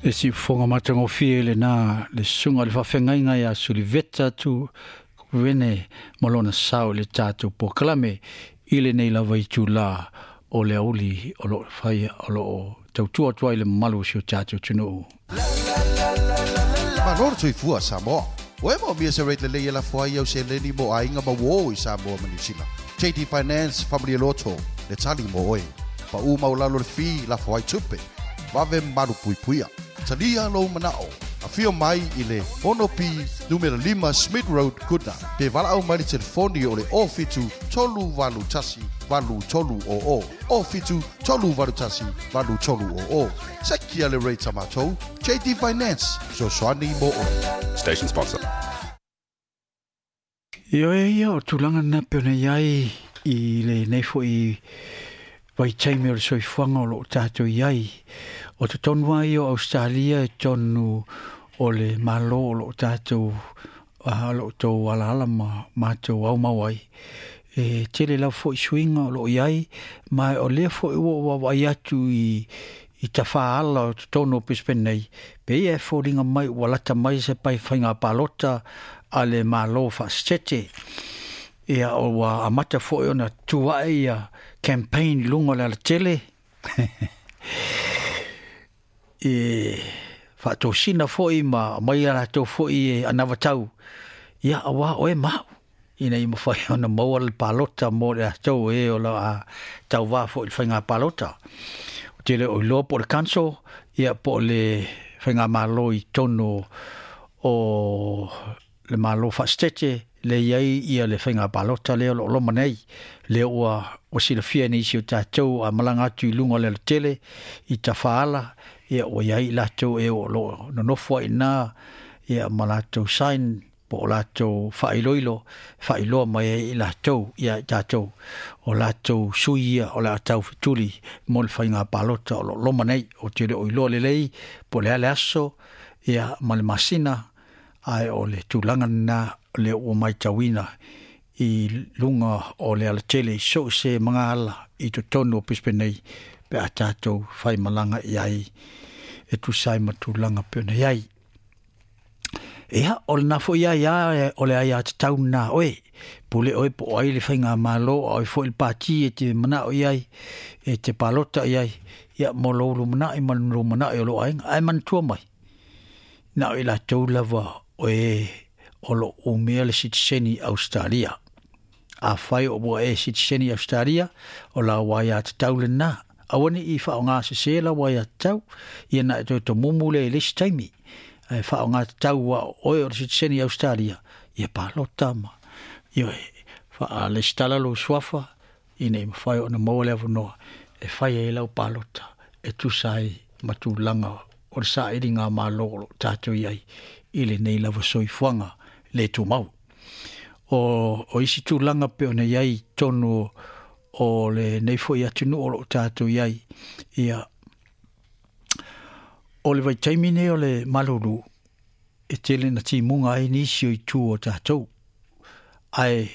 E siufofoga matagofie lenā le susuga i le faafeagaiga ia Suliveta Tuuvene ma lona sao i le tatou polokalame i lenei lava itulā o le aoauli o lo o faia o lo o tautua atu ai i le mamalu o si o tatou atunuu. Malo le soifua Samoa. Ua e moomia se rate lelei e lafo ai au seleni mo aiga ma uō i Samoa ma Niu Sila? JD Finance Faamalie Loto le tali mo oe. Pau maualalo le fee lafo ai tupe. Vave malupuipuia. Talia lou manao. Afio mai i le 6P numera 5 Smith Road, Goodna, pe valaau mai le telefoni o le 07 381 8300, 07 381 8300. Sekia le rate a matou, JD Finance, fesoasoani mo oe. Station sponsor. Ioe ia, o tulaga lena pei ona i ai i lenei foi vaitaimi o le soifuaga o lo o tatou i ai. O totonu lava ia o Ausetalia i totonu o le Malo o lo o tatou o lo o outou alaala ma matou aumau ai, e tele lava foi suiga o lo o i ai, ma o lea foi ua ou vaavaai atu i i tafaala o totonu o Brisbane nei, pei e foliga mai ua lata mai se pai faiga palota a le Malo faasetete. Ia, ua amata foi ona tu ae ia campaign i luga o le alatele e faatosina foi ma aumai a latou foi e anavatau, ia aua oe ma au, ina ia mafai ona maua le palota mo i latou e o le a tauvā foi i le faiga palota. Ou te le o iloa po o le council, ia po o le faigamalo i totonu o le Malo faasetete lea e i ai ia le faiga palota lea o lo o loma nei, lea ua ua silafia e nisi o tatou a malaga atu i luga o le alatele i tafaala, ia ua i ai i latou e o lo o nonofo ai i ina ia ma latou sign po o latou faailoilo e faailoa mai ai i latou ia i tatou o latou sui ia o le a taufetuli mo le faiga palota o lo o loma nei. Ou te le o iloa lelei po o le a le aso ia ma le masina, ae o le tulaga lena lea ua matauina i luga o le alatele i so o se magaala i totonu o Brisbane nei pe a tatou faimalaga i ai e tusa ai ma tulaga pei ona i ai. Ia, o lena foi aia o le aiatatau lena a oe. Pule oe po o ai le faigamalo a o ai foi le pati e te manao i ai, e te palota i ai, ia mo lou lumanai ma le lumanai o lou aiga. Ae manatua mai, na o i latou lava o e o lo o umia le sitiseni Ausetalia. Afai o ua e sitiseni Ausetalia, o lau aiatatau lena. Aua ne i faaaoga sese lau aiatatau, ia na e toe tomumu lea i le isi taimi. Ae faaaoga tatau aua o oe o le sitiseni Ausetalia, ia palota ma, ioe, faalesitala lou suafa, ina ia mafai ona maua le avanoa e fai ai lau palota e tusa ai ma tulaga o le sailiga malo o lo o tatou i ai i lenei lava soifuaga le tumau. O, o isi tulaga pei ona i ai i totonu o lenei foi atunuu o lo o tatou i ai, ia, o le vaitaimi nei o le malulu, e tele ina timuga ai nisi o itu o tatou. Ae